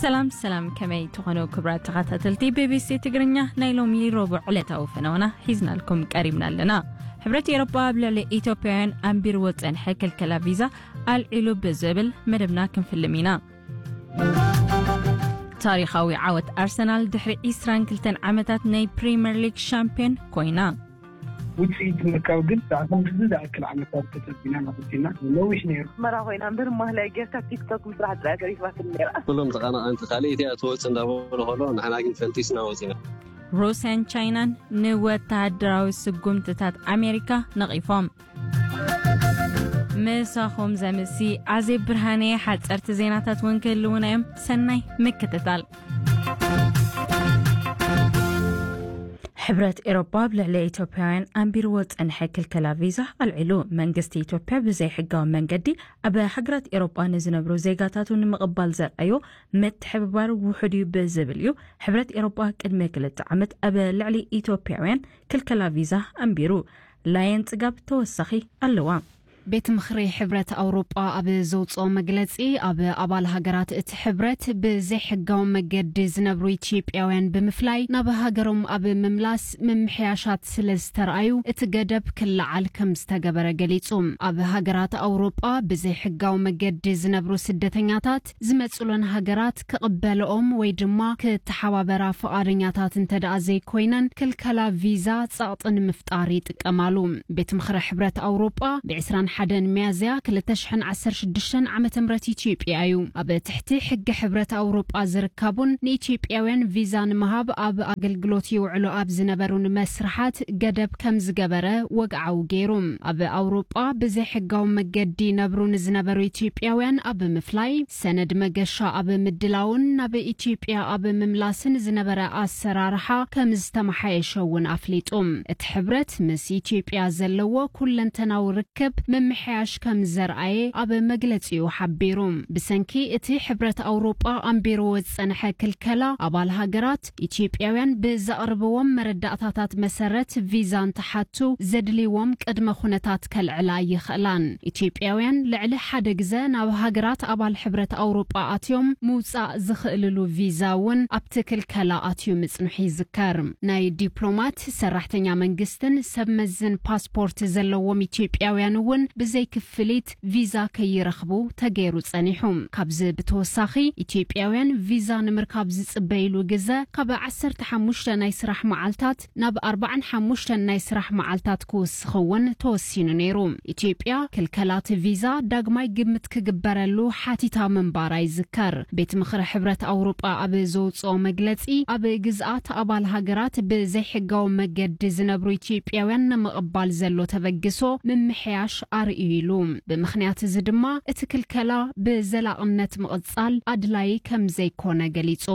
ሰላም ሰላም፣ ከመይ ትኾኑ ክቡራት ተኸታተልቲ ቢቢሲ ትግርኛ? ናይ ሎሚ ረቡዕ ዕለታዊ ፈነወና ሒዝናልኩም ቀሪብና ኣለና። ሕብረት ኤሮጳ ኣብ ልዕሊ ኢትዮጵያውያን ኣንቢርዎ ዝጸንሐ ክልከላ ቪዛ ኣልዒሉ ብዝብል መደብና ክንፍልም ኢና። ታሪኻዊ ዓወት ኣርሰናል፣ ድሕሪ ዕስራን ክልተን ዓመታት ናይ ፕሪምየር ሊግ ሻምፒዮን ኮይና። ውፅኢት ምርካብ ግን ብኣኹም ብዙ ዝኣክል ዓመታት ተፀቢና ናፍትና ነዊሕ ነይሩ። ኣስመራ ኮይና እምበር ማህላይ ጌርካ ቲክቶክ ምስራሕ ጥራይ ተሪፋትኒ ነይራ። ኩሎም ተቐናቐንቲ ካልእ እቲኣ ትወጽእ እንዳበሉ ከሎ ንሕና ግን ፈንቲስና ወጺና። ሩስያን ቻይናን ንወተሃደራዊ ስጉምትታት ኣሜሪካ ነቒፎም። ምሳኹም ዘምሲ ኣዜብ ብርሃነ። ሓጸርቲ ዜናታት እውን ክህልውና እዮም። ሰናይ ምክትታል። ሕብረት ኤሮጳ ኣብ ልዕሊ ኢትዮጵያውያን ኣንቢርዎ ዝጸንሐ ክልከላ ቪዛ ኣልዒሉ። መንግስቲ ኢትዮጵያ ብዘይሕጋዊ መንገዲ ኣብ ሃገራት ኤሮጳ ንዝነብሩ ዜጋታቱ ንምቕባል ዘርኣዮ ምትሕብባር ውሑድ እዩ ብዝብል እዩ ሕብረት ኤሮጳ ቅድሚ ክልተ ዓመት ኣብ ልዕሊ ኢትዮጵያውያን ክልከላ ቪዛ ኣንቢሩ። ላየን ጽጋብ ተወሳኺ ኣለዋ። ቤት ምኽሪ ሕብረት ኣውሮጳ ኣብ ዘውፅኦ መግለፂ፣ ኣብ ኣባል ሃገራት እቲ ሕብረት ብዘይሕጋዊ መገዲ ዝነብሩ ኢትዮጵያውያን ብምፍላይ ናብ ሃገሮም ኣብ ምምላስ ምምሕያሻት ስለ ዝተረኣዩ እቲ ገደብ ክለዓል ከም ዝተገበረ ገሊፁ። ኣብ ሃገራት ኣውሮጳ ብዘይሕጋዊ መገዲ ዝነብሩ ስደተኛታት ዝመፅሎን ሃገራት ክቕበልኦም ወይ ድማ ክተሓባበራ ፍቓደኛታት እንተ ደኣ ዘይኮይነን፣ ክልከላ ቪዛ ጸቕጢ ንምፍጣር ይጥቀማሉ። ቤት ምኽሪ ሕብረት ኣውሮጳ ብ ዕስራን ሓደን ሚያዝያ ክልተ ሽሕን ዓሰርተ ሽዱሽተን ዓመተ ምህረት ኢትዮጵያ እዩ። ኣብ ትሕቲ ሕጊ ሕብረት ኣውሮጳ ዝርከቡን ንኢትዮጵያውያን ቪዛ ንምሃብ ኣብ ኣገልግሎት ይውዕሉ ኣብ ዝነበሩን መስርሓት ገደብ ከም ዝገበረ ወግዓዊ ገይሩ። ኣብ ኣውሮጳ ብዘይሕጋዊ መገዲ ይነብሩ ንዝነበሩ ኢትዮጵያውያን ኣብ ምፍላይ፣ ሰነድ መገሻ ኣብ ምድላውን ናብ ኢትዮጵያ ኣብ ምምላስን ዝነበረ ኣሰራርሓ ከም ዝተመሓየሸ እውን ኣፍሊጡ። እቲ ሕብረት ምስ ኢትዮጵያ ዘለዎ ኩለንተናዊ ርክብ ምምሕያሽ ከም ዘርኣየ ኣብ መግለጺኡ ሓቢሩ። ብሰንኪ እቲ ሕብረት ኣውሮጳ ኣንቢርዎ ዝጸንሐ ክልከላ፣ ኣባል ሃገራት ኢትዮጵያውያን ብዘቕርብዎም መረዳእታታት መሰረት ቪዛ እንትሓቱ ዘድልይዎም ቅድመ ኩነታት ከልዕላ ይኽእላን። ኢትዮጵያውያን ልዕሊ ሓደ ግዘ ናብ ሃገራት ኣባል ሕብረት ኣውሮጳ ኣትዮም ምውጻእ ዝኽእልሉ ቪዛ እውን ኣብቲ ክልከላ ኣትዩ ምጽንሑ ይዝከር። ናይ ዲፕሎማት፣ ሰራሕተኛ መንግስትን ሰብ መዝን ፓስፖርት ዘለዎም ኢትዮጵያውያን እውን ብዘይ ክፍሊት ቪዛ ከይረኽቡ ተገይሩ ጸኒሑ። ካብዚ ብተወሳኺ፣ ኢትዮጵያውያን ቪዛ ንምርካብ ዝጽበይሉ ግዘ ካብ ዓሰርተ ሓሙሽተ ናይ ስራሕ መዓልታት ናብ ኣርባዓን ሓሙሽተን ናይ ስራሕ መዓልታት ክውስኽ እውን ተወሲኑ ነይሩ። ኢትዮጵያ ክልከላት ቪዛ ዳግማይ ግምት ክግበረሉ ሓቲታ ምንባራ ይዝከር። ቤት ምኽሪ ሕብረት ኣውሮጳ ኣብ ዘውፅኦ መግለፂ፣ ኣብ ግዝኣት ኣባል ሃገራት ብዘይሕጋዊ መገዲ ዝነብሩ ኢትዮጵያውያን ንምቕባል ዘሎ ተበግሶ ምምሕያሽ ኣርእዩ ኢሉ። ብምኽንያት እዚ ድማ እቲ ክልከላ ብዘላቕነት ምቕጻል ኣድላዪ ከም ዘይኮነ ገሊጹ።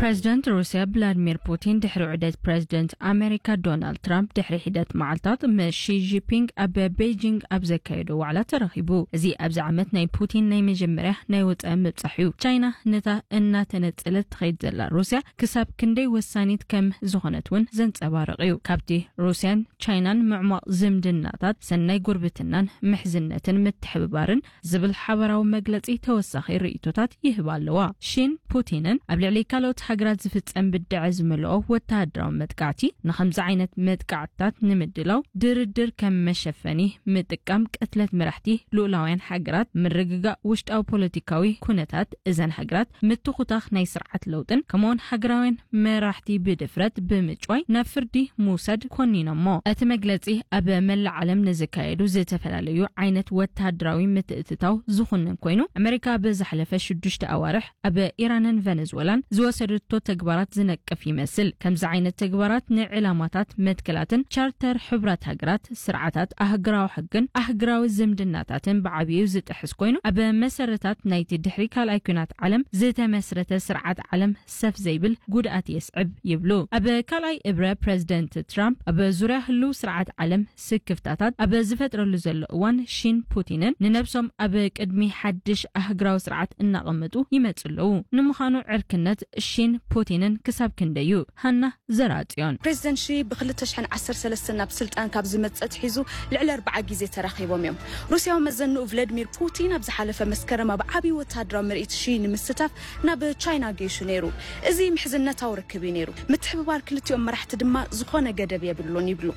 ፕረዚደንት ሩስያ ቭላድሚር ፑቲን ድሕሪ ዑደት ፕረዚደንት ኣሜሪካ ዶናልድ ትራምፕ ድሕሪ ሒደት መዓልታት ምስ ሺ ጂንፒንግ ኣብ ቤጂንግ ኣብ ዘካየዶ ዋዕላ ተራኺቡ። እዚ ኣብዚ ዓመት ናይ ፑቲን ናይ መጀመርያ ናይ ወጻኢ ምብጻሕ እዩ። ቻይና ነታ እናተነጸለት ትኸይድ ዘላ ሩስያ ክሳብ ክንደይ ወሳኒት ከም ዝኾነት እውን ዘንጸባርቕ እዩ። ካብቲ ሩስያን ቻይናን ምዕሟቕ ዝምድናታት፣ ሰናይ ጉርብትናን ምሕዝነትን ምትሕብባርን ዝብል ሓበራዊ መግለጺ ተወሳኺ ርእይቶታት ይህባ ኣለዋ። ሺን ፑቲንን ኣብ ልዕሊ ካልኦት ሃገራት ዝፍጸም ብድዐ ዝመልኦ ወተሃደራዊ መጥቃዕቲ፣ ንኸምዚ ዓይነት መጥቃዕትታት ንምድላው ድርድር ከም መሸፈኒ ምጥቃም፣ ቅትለት መራሕቲ ልኡላውያን ሃገራት፣ ምርግጋእ ውሽጣዊ ፖለቲካዊ ኩነታት እዘን ሃገራት፣ ምትኹታኽ ናይ ስርዓት ለውጥን ከምኡውን ሃገራውያን መራሕቲ ብድፍረት ብምጭዋይ ናብ ፍርዲ ምውሳድ ኮኒኖሞ። እቲ መግለጺ ኣብ መላእ ዓለም ንዝካየዱ ዝተፈላለዩ ዓይነት ወተሃደራዊ ምትእትታው ዝኹንን ኮይኑ፣ ኣመሪካ ብዝሓለፈ ሽዱሽተ ኣዋርሕ ኣብ ኢራንን ቨነዝወላን ዝወሰደቶ ተግባራት ዝነቅፍ ይመስል። ከምዚ ዓይነት ተግባራት ንዕላማታት መትከላትን ቻርተር ሕቡራት ሃገራት፣ ስርዓታት ኣህግራዊ ሕግን ኣህግራዊ ዝምድናታትን ብዓቢኡ ዝጥሕስ ኮይኑ፣ ኣብ መሰረታት ናይቲ ድሕሪ ካልኣይ ኲናት ዓለም ዝተመስረተ ስርዓት ዓለም ሰፍ ዘይብል ጉድኣት የስዕብ ይብሉ። ኣብ ካልኣይ እብረ ፕረዚደንት ትራምፕ ኣብ ዙርያ ህልው ስርዓት ዓለም ስክፍታታት ኣብ ዝፈጥረሉ ዘሎ እዋን፣ ሺን ፑቲንን ንነብሶም ኣብ ቅድሚ ሓድሽ ኣህግራዊ ስርዓት እናቐመጡ ይመጹ ኣለዉ። ንምዃኑ ዕርክነት ሺን ፑቲንን ክሳብ ክንደይ እዩ? ሃና ዘርኣጽዮን። ፕሬዚደንት ሺ ብ2013 ናብ ስልጣን ካብ ዝመጽእ ኣትሒዙ ልዕሊ ኣርብዓ ግዜ ተራኺቦም እዮም። ሩስያዊ መዘንኡ ቭላድሚር ፑቲን ኣብ ዝሓለፈ መስከረም ኣብ ዓብዪ ወታደራዊ ምርኢት ሺ ንምስታፍ ናብ ቻይና ገይሹ ነይሩ። እዚ ምሕዝነታዊ ርክብ እዩ ነይሩ። ምትሕብባር ክልቲኦም መራሕቲ ድማ ዝኾነ ገደብ የብሉን ይብሉ።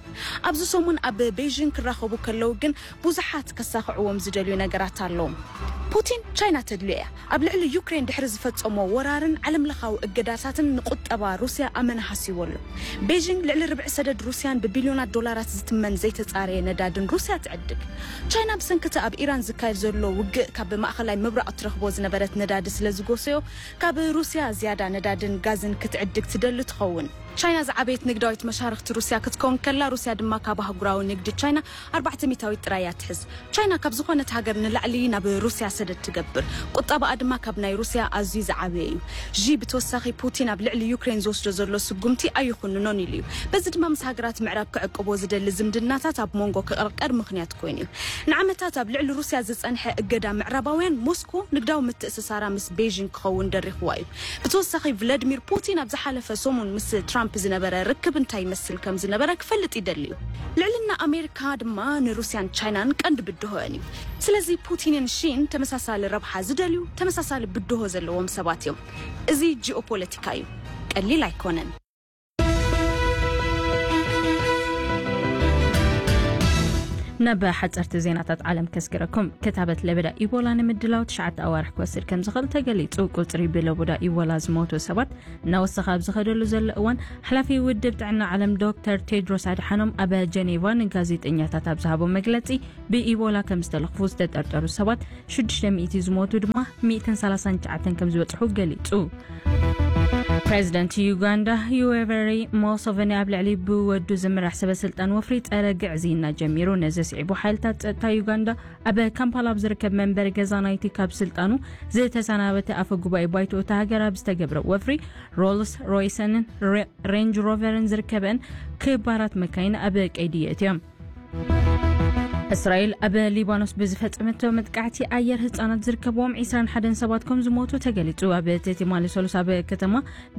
ኣብዚ ሰሙን ኣብ ቤይዥንግ ክራኸቡ ከለዉ ግን ብዙሓት ከሳኽዕዎም ዝደልዩ ነገራት ኣለዎም። ፑቲን ቻይና ተድልዮ እያ። ኣብ ልዕሊ ዩክሬን ድሕሪ ዝፈጸሞ ወራርን ዓለምለኻዊ እገዳታትን ንቁጠባ ሩስያ ኣመና ሃሲዎ ኣሎ። ቤይጂንግ ልዕሊ ርብዒ ሰደድ ሩስያን ብቢልዮናት ዶላራት ዝትመን ዘይተጻረየ ነዳድን ሩስያ ትዕድግ። ቻይና ብሰንኪ እቲ ኣብ ኢራን ዝካየድ ዘሎ ውግእ ካብ ማእኸላይ ምብራቕ እትረኽቦ ዝነበረት ነዳዲ ስለ ዝጎሰዮ ካብ ሩስያ ዝያዳ ነዳድን ጋዝን ክትዕድግ ትደሊ ትኸውን። ቻይና ዝዓበየት ንግዳዊት መሻርኽቲ ሩስያ ክትከውን ከላ፣ ሩስያ ድማ ካብ ኣህጉራዊ ንግዲ ቻይና ኣርባዕተ ሚእታዊት ጥራይ እያ ትሕዝ። ቻይና ካብ ዝኾነት ሃገር ንላዕሊ ናብ ሩስያ ሰደድ ትገብር። ቁጠባኣ ድማ ካብ ናይ ሩስያ ኣዝዩ ዝዓበየ እዩ። ዢ ብተወሳኺ ፑቲን ኣብ ልዕሊ ዩክሬን ዝወስዶ ዘሎ ስጉምቲ ኣይኹንኖን ኢሉ እዩ። በዚ ድማ ምስ ሃገራት ምዕራብ ክዕቅቦ ዝደሊ ዝምድናታት ኣብ መንጎ ክቕርቀር ምኽንያት ኮይኑ እዩ። ንዓመታት ኣብ ልዕሊ ሩስያ ዝጸንሐ እገዳ ምዕራባውያን ሞስኮ ንግዳዊ ምትእስሳራ ምስ ቤይጂንግ ክኸውን ደሪኽዋ እዩ። ብተወሳኺ ቭላድሚር ፑቲን ኣብ ዝሓለፈ ሰሙን ምስ ትራምፕ ዝነበረ ርክብ እንታይ ይመስል ከም ዝነበረ ክፈልጥ ይደሊ እዩ። ልዕልና ኣሜሪካ ድማ ንሩስያን ቻይናን ቀንዲ ብድሆአን እዩ። ስለዚ ፑቲንን ሺን ተመሳሳሊ ረብሓ ዝደልዩ፣ ተመሳሳሊ ብድሆ ዘለዎም ሰባት እዮም። እዚ ጂኦፖለቲካ እዩ። ቀሊል ኣይኮነን። ናብ ሓፀርቲ ዜናታት ዓለም ከስግረኩም። ክታበት ለበዳ ኢቦላ ንምድላው ትሽዓተ ኣዋርሕ ክወስድ ከም ዝኽእል ተገሊጹ። ቁጽሪ ብለበዳ ኢቦላ ዝሞቱ ሰባት እናወሰኸ ኣብ ዝኸደሉ ዘሎ እዋን፣ ሓላፊ ውድብ ጥዕና ዓለም ዶክተር ቴድሮስ ኣድሓኖም ኣብ ጀኔቫ ንጋዜጠኛታት ኣብ ዝሃቦ መግለጺ፣ ብኢቦላ ከም ዝተለኽፉ ዝተጠርጠሩ ሰባት ሽዱሽተ ሚእቲ ዝሞቱ ድማ ሚእትን ሰላሳን ትሽዓተን ከም ዝበጽሑ ገሊጹ። ፕሬዚደንት ዩጋንዳ ዩዌቨሪ ሞሶቨኒ ኣብ ልዕሊ ብወዱ ዝምራሕ ሰበ ስልጣን ወፍሪ ጸረ ግዕዝይና ጀሚሩ። ነዚ ስዒቡ ሓይልታት ጸጥታ ዩጋንዳ ኣብ ካምፓላ ኣብ ዝርከብ መንበሪ ገዛ ናይቲ ካብ ስልጣኑ ዝተሰናበተ ኣፈ ጉባኤ ባይቶ እታ ሃገር ኣብ ዝተገብረ ወፍሪ ሮልስ ሮይሰንን ሬ- ሬንጅ ሮቨርን ዝርከበን ክባራት መካይን ኣብ ቀይዲ የእትዮም። እስራኤል ኣብ ሊባኖስ ብዝፈጸመቶ መጥቃዕቲ ኣየር ህጻናት ዝርከብዎም ዒስራን ሓደን ሰባት ከም ዝሞቱ ተገሊጹ። ኣብ ትማሊ ሰሉስ ኣብ ከተማ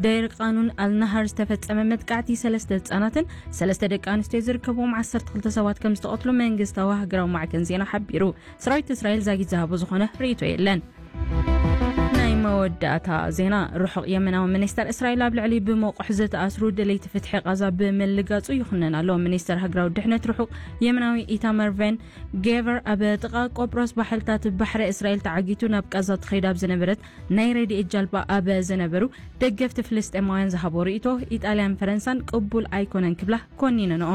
ደይር ቃኑን ኣልናሃር ዝተፈጸመ መጥቃዕቲ ሰለስተ ህጻናትን ሰለስተ ደቂ ኣንስትዮ ዝርከብዎም ዓሰርተ ክልተ ሰባት ከም ዝተቐትሉ መንግስታዊ ሃገራዊ ማዕከን ዜና ሓቢሩ። ሰራዊት እስራኤል ዛጊት ዝሃቦ ዝኾነ ርእይቶ የለን። ናይ መወዳእታ ዜና። ርሑቕ የመናዊ ሚኒስተር እስራኤል ኣብ ልዕሊ ብመቑሕ ዝተኣስሩ ደለይቲ ፍትሒ ቃዛ ብምልጋጹ ይኹነን ኣሎ። ሚኒስተር ሃገራዊ ድሕነት ርሑቕ የመናዊ ኢታመር ቬን ጌቨር ኣብ ጥቓ ቆጵሮስ ባሕርታት ባሕሪ እስራኤል ተዓጊቱ ናብ ቃዛ ትኸይድ ኣብ ዝነበረት ናይ ረድኤት ጃልባ ኣብ ዝነበሩ ደገፍቲ ፍልስጤማውያን ዝሃቦ ርእይቶ ኢጣልያን ፈረንሳን ቅቡል ኣይኮነን ክብላ ኮኒነንኦ።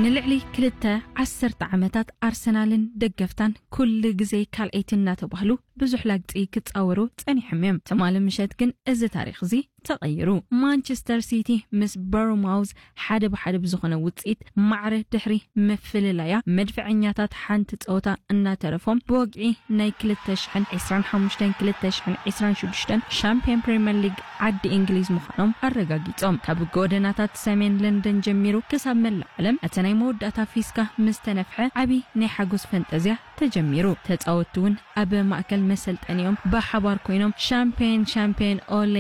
ንልዕሊ ክልተ ዓሰርተ ዓመታት ኣርሰናልን ደገፍታን ኩሉ ግዜ ካልኣይቲ እናተባህሉ ብዙሕ ላግጺ ክጻወሩ ጸኒሖም እዮም። ትማሊ ምሸት ግን እዚ ታሪኽ እዚ ተቐይሩ። ማንቸስተር ሲቲ ምስ በርማውዝ ሓደ ብሓደ ብዝኾነ ውጽኢት ማዕረ ድሕሪ ምፍልላያ፣ መድፍዐኛታት ሓንቲ ጸወታ እናተረፎም ብወግዒ ናይ ክልተ ሽሕን ዕስራን ሓሙሽተን ክልተ ሽሕን ዕስራን ሽዱሽተን ሻምፒዮን ፕሪምየር ሊግ ዓዲ እንግሊዝ ምዃኖም ኣረጋጊጾም። ካብ ጎደናታት ሰሜን ለንደን ጀሚሩ ክሳብ መላእ ዓለም እቲ ናይ መወዳእታ ፊስካ ምስ ተነፍሐ ዓቢ ናይ ሓጎስ ፈንጠዝያ ተጀሚሩ። ተጻወትቲ እውን ኣብ ማእከል መሰልጠኒኦም ብሓባር ኮይኖም ሻምፒዮን ሻምፒዮን ኦሌ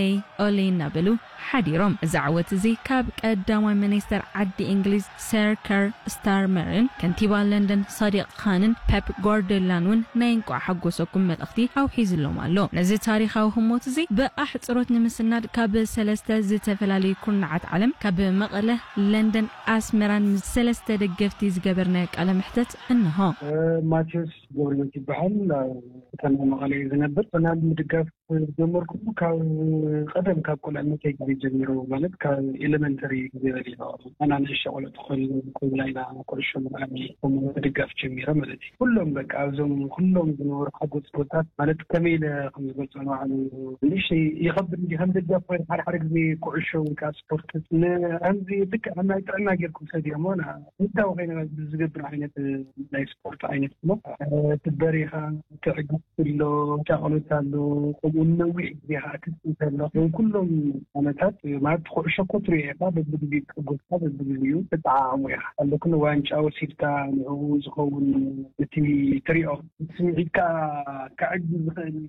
ኦሌ እናበሉ ሓዲሮም። እዚ ዓወት እዚ ካብ ቀዳማይ ሚኒስተር ዓዲ እንግሊዝ ሰር ከር ስታርመርን ከንቲባ ለንደን ሳዲቅ ካንን ፔፕ ጓርዲዮላን እውን ናይ እንቋዕ ሓጎሰኩም መልእኽቲ ኣውሒዝሎም ኣሎ። ነዚ ታሪኻዊ ህሞት እዚ ብኣሕጽሮት ንምስናድ ካብ ሰለስተ ዝተፈላለዩ ኩርናዓት ዓለም ካብ መቐለ፣ ለንደን፣ ኣስመራን ምስ ሰለስተ ደገፍቲ ዝገበርናዮ ቃለ መሕተት እንሆ። ማቴዎስ ገብረህይወት ይበሃል። ኣብ ከተማ መቐለ እዩ ዝነብር። ርሰናል ምድጋፍ ጀመርኩ ካብ ቀደም፣ ካብ ቁልዕነተይ ግዜ ጀሚሩ፣ ማለት ካብ ኤሌመንተሪ ግዜ በሊዑ ኣና ንእሽቶ ቆልዑ ተኾይኑ ኮይና ኢና ኩዕሾ ምርኣይ ከምኡ ምድጋፍ ጀሚረ ማለት እዩ። ኩሎም በቃ ኣብዞም ኩሎም ዝነበሩ ሓጎስ ቦታት ማለት ከመይ ኢለ ከም ዝገልጾ ንባዕሉ ንእሽተይ ይኸብድ እንዲ ከም ደጋፍ ኮይነ ሓደ ሓደ ግዜ ኩዕሾ ወይ ከዓ ስፖርት ን- ከምዚ ልክዕ ከም ናይ ጥዕና ጌርኩም ሰዲኦሞ ና ምታዊ ኮይነ ዝገብር ዓይነት ናይ ስፖርት ዓይነት እሞ ትበሪኻ ትዕግስቲ ኣሎ ጫቕሎት ኣሎ እውን ነዊሕ ግዜ ከዓ ክትፅንተ ኣለኹ። ኩሎም ዓመታት ማለት ኩዕሾ እኮ ትሪኦ ኢኻ፣ በብግዜኡ ትሕጎስካ፣ በብግዜኡ ትጠዓዓሞ ኢኻ። ኣለኩን ዋንጫ ወሲድካ ንዕኡ ዝኸውን እቲ ትሪኦ ስምዒትካ ከዕግብ ዝኽእል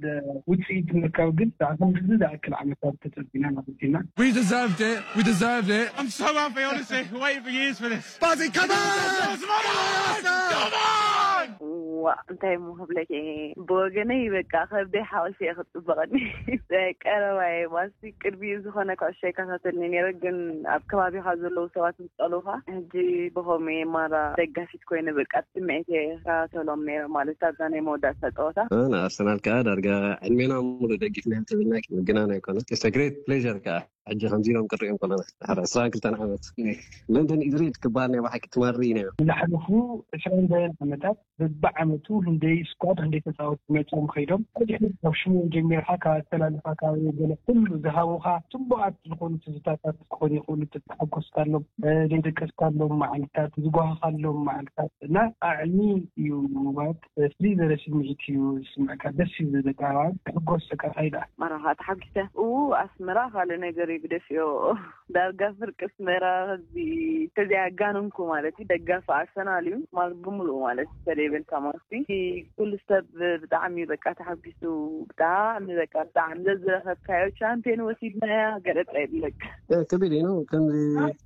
ውፅኢት ምርካብ ግን ከዓ ክንድዚ ዝኣክል ዓመታት ተፀቢና ማለት ኢና። We deserved it. We deserved it. I'm so happy, honestly. Waiting for years for this. Fuzzy, come on! Come on! Come on! ዋ እንታይ ሞ ክብለኪ እየ። ብወገነይ በቃ ከብደይ ሓቂፈ እየ ክፅበቐኒ። ቀረባ እየ ማለትሲ ቅድሚ ዝኾነ ኩዕሾ ይከታተልኒ ነይረ፣ ግን ኣብ ከባቢኻ ዘለዉ ሰባት ምስ ጸልኡኻ ሕጂ ብኸምኡ እየ ማራ ደጋፊት ኮይነ በቃ ብስምዒት እየ ይከታተሎም ነይረ ማለት ኣብዛ ናይ መወዳእታ ጸወታ። ንኣርሰናል ከዓ ዳርጋ ዕድሜና ሙሉ ደጊፍና ተብልና ምግናን ኣይኮነ። It's a great pleasure ከዓ ሕጂ ከምዚ ኢሎም ክንሪኦም ከለና ድሕሪ ዕስራን ክልተን ዓመት ለንደን ኢዝሬድ ክበሃል ናይ ብሓቂ ትማሪ ነዮ። ዝሓለፉ ዕስራን ገለን ዓመታት በብዓመቱ ህንደይ ስኳድ ህንደይ ተፃወቲ መፅኦም ከይዶም ድሕሪ ካብ ሽሞም ጀሚርካ ካብ ኣተላልፋ ካብ ገለ ኩሉ ዝሃቡካ ፅቡቃት ዝኾኑ ትዝታታት ክኾኑ ይኽእሉ። ተተሓጎስካሎም፣ ዘይደቀስካሎም መዓልታት፣ ዝጓሃኻሎም መዓልታት እና ጣዕሚ እዩ ማለት ፍልይ ዝበለ ስምዒት እዩ ዝስምዐካ። ደስ እዩ ዝብለካ ማለት ክሕጎስ በቃ እንታይ ደኣ። መራኻ ተሓጒሰ እዉ ኣስመራ ካልእ ነገር ይግደፍዮ። ዳርጋ ፍርቂ ኣስመራ ከዚ ተዘይኣጋነንኩ ማለት እዩ ደጋፊ ኣርሰናል እዩ ማለት ብምሉኡ ማለት እዩ ተደይበልካ ማለት እዩ። ኩሉ ሰብ ብጣዕሚ በቃ ተሓጒሱ ብጣዕሚ በቃ ብጣዕሚ ዘዝረኸብካዮ ቻምፒዮን ወሲድናያ ገለጻ የብለካ። ከቢድ እዩ ነው ከምዚ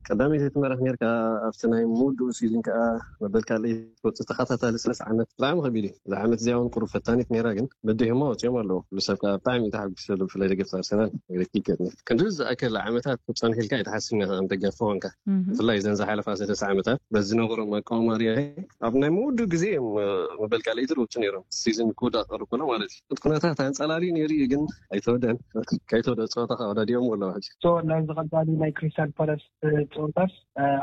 ቀዳመይቲ ትመርሕ ነርካ ኣብቲ ናይ ምውድኡ ሲዝን ከዓ መበል ካልኣይ ትወፅእ ተኸታታሊ ሰለስተ ዓመት ብጣዕሚ ከቢድ እዩ። እዛ ዓመት እዚኣ እውን ቁሩብ ፈታኒት ነይራ ግን በዲሆማ ወፂኦም ኣለዉ። ኩሉ ሰብ ከዓ ብጣዕሚ እዩ ተሓጒሱ ዘሎ ብፍላይ ደገፍቲ ኣርሰናል። ክንዲ ዝኣክል ዓመታት ክትፀንሕ ኢልካ ኣይትሓስብን ኢኻ ከም ደጋፊ ኮንካ። ብፍላይ እዘን ዝሓለፋ ሰለስተ ዓመታት በዚ ዝነበሮም ኣቃውማ ሪኣ ኣብ ናይ ምውድኡ ግዜ እዮም መበል ካልኣይቲ ዝወፁ ነይሮም። ሲዝን ክውዳእ ቀርብ ከሎ ማለት እዩ። እቲ ኩነታት ኣንፀላልዩ ነይሩ እዩ ግን ኣይተወደን። ከይተወደ ፀወታ ከዓ ወዳዲኦም ኣለዉ ሕጂ። ናብዚ ቀፃሊ ናይ ክሪስታል ፓላስ ፀወታስ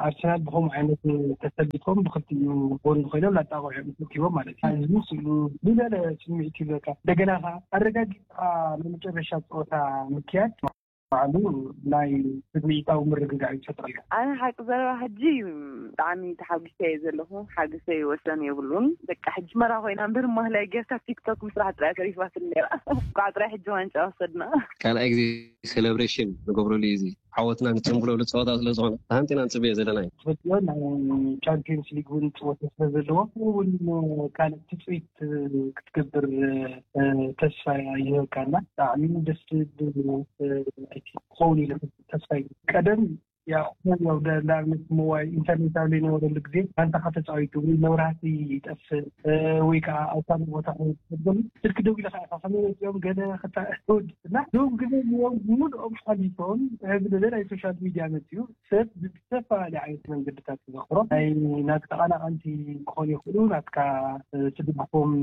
ኣርሰናል ብከምኡ ዓይነት ተሰሊፎም ብክልቲኡ ጎኒ ኮይኖም ላጣቕዑ እዮም ተኪቦም ማለት እዩ። እዚ ስእሉ ዝለለ ስምዒት ይህበካ። እንደገና ከዓ ኣረጋጊፅካ ናይ መጨረሻ ፀወታ ምክያድ ባዕሉ ናይ ስምዒታዊ ምርግጋዕ ይፈጥረልካ። ኣነ ሓቂ ዘረባ ሕጂ ብጣዕሚ ተሓጒሰ እየ ዘለኹ። ሓገሰይ ወሰን የብሉን። በቃ ሕጂ መራ ኮይና እምበር ማህላይ ጌርካ ቲክቶክ ምስራሕ ጥራይ ተሪፋትኒ ነይራ። እንኳዕ ጥራይ ሕጂ ዋንጫ ወሰድና። ካልኣይ ግዜ ሴሌብሬሽን ንገብረሉ እዩ። እዚ ዓወትና ንፅንብለሉ ፀወታ ስለዝኾነ ተሃንጢና ንፅበዮ ዘለና እዩ። ትፈልጥዮ ናይ ቻምፒዮንስ ሊግ እውን ፅወተ ስለዘለዎ እውን ካልእ ትፅቢት ክትገብር ተስፋ ይህበካና። ብጣዕሚ ደስ ዝብል ክኸውን ኢለ ተስፋ ይገብር። ቀደም ያው ያው ንኣብነት ሞባይል ኢንተርኔት ኣብ ዘይነበረሉ ግዜ ጋንታኻ ተፃዊቱ ወይ መብራህቲ ይጠፍእ ወይ ከዓ ኣብ ካልእ ቦታ ከይትፈልጠሉ ስልኪ ደዊልኻ ኢኻ ከመይ መፂኦም ገለ ክተወድስና ሎም ግዜ ዮም ሙሉኦም ሓሊፎም ሕዚ ግዜ ናይ ሶሻል ሚድያ መፅኡ ሰብ ብዝተፈላለየ ዓይነት መንገድታት ተዘኽሮ ናይ ናትካ ተቐናቐንቲ ክኾኑ ይኽእሉ ናትካ ትድግፎም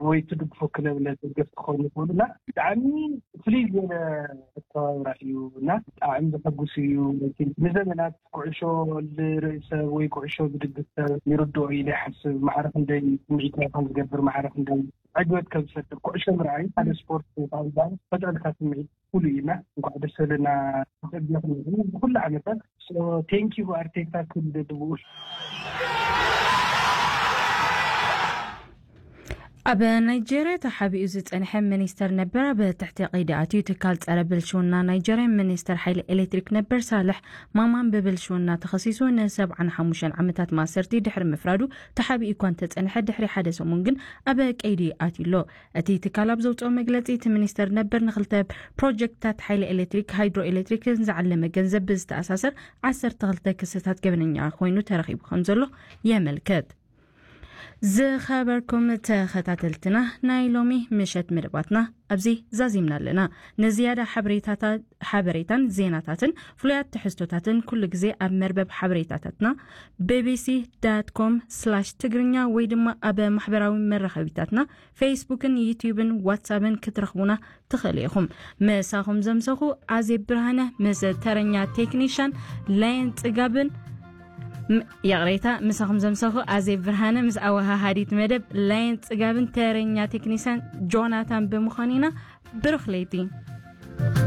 ወይ ትድግፎ ክለብ ለደገፍ ክኾኑ ይኽእሉ እና ብጣዕሚ ፍልይ ዝበለ ኣተባብራ እዩ እና ብጣዕሚ ዘሐጉስ እዩ። ንዘመናት ኩዕሾ ልርኢ ሰብ ወይ ኩዕሾ ዝድግፍ ሰብ ይርድኦ ኢለ ይሓስብ። ማዕረ ክንደይ ስምዒት ናይ ከም ዝገብር ማዕረ ክንደይ ዕግበት ከም ዝፈጥር ኩዕሾ ምርኣይ ሓደ ስፖርት ፈጥረልካ ስምዒት ኩሉ እዩ እና እንኳዕ ደስ ዘለና ክብል ብኩሉ ዓመታት ቴንኪ ኣርቴታ ክብል ብኡ ኣብ ናይጀርያ ተሓቢኡ ዝጸንሐ ሚኒስተር ነበር ኣብ ትሕቲ ቀይዲ ኣትዩ። ትካል ጸረ ብልሽውና ናይጀርያ ሚኒስተር ሓይሊ ኤሌክትሪክ ነበር ሳልሕ ማማን ብብልሽውና ተኸሲሱ ንሰብዓን ሓሙሽተን ዓመታት ማእሰርቲ ድሕሪ ምፍራዱ ተሓቢኡ እኳ እንተጸንሐ ድሕሪ ሓደ ሰሙን ግን ኣብ ቀይዲ ኣትዩ ኣሎ። እቲ ትካል ኣብ ዘውጽኦ መግለጺ እቲ ሚኒስተር ነበር ንኽልተ ፕሮጀክትታት ሓይሊ ኤሌክትሪክ ሃይድሮ ኤሌክትሪክን ዝዓለመ ገንዘብ ብዝተኣሳሰር ዓሰርተ ክልተ ክስታት ገበነኛ ኮይኑ ተረኺቡ ከም ዘሎ የመልክት። ዝኸበርኩም ተኸታተልትና ናይ ሎሚ ምሸት መደባትና ኣብዚ ዛዚምና ኣለና። ንዝያዳ ሓበሬታታ- ሓበሬታን ዜናታትን ፍሉያት ትሕዝቶታትን ኩሉ ግዜ ኣብ መርበብ ሓበሬታታትና ቢቢሲ ዳት ኮም ስላሽ ትግርኛ ወይ ድማ ኣብ ማሕበራዊ መራኸቢታትና ፌስቡክን ዩትዩብን ዋትሳፕን ክትረኽቡና ትኽእሉ ኢኹም። ምሳኹም ዘምሰኹ ኣዜብ ብርሃነ ምስ ተረኛ ቴክኒሻን ላየን ጽጋብን ም- ይቕሬታ፣ ምሳኹም ዘምሰኹ ኣዜብ ብርሃነ ምስ ኣወሃሃዲት መደብ ላየን ጽጋብን ተረኛ ቴክኒሻን ጆናታን ብምዃን ኢና። ብሩኽ ለይቲ።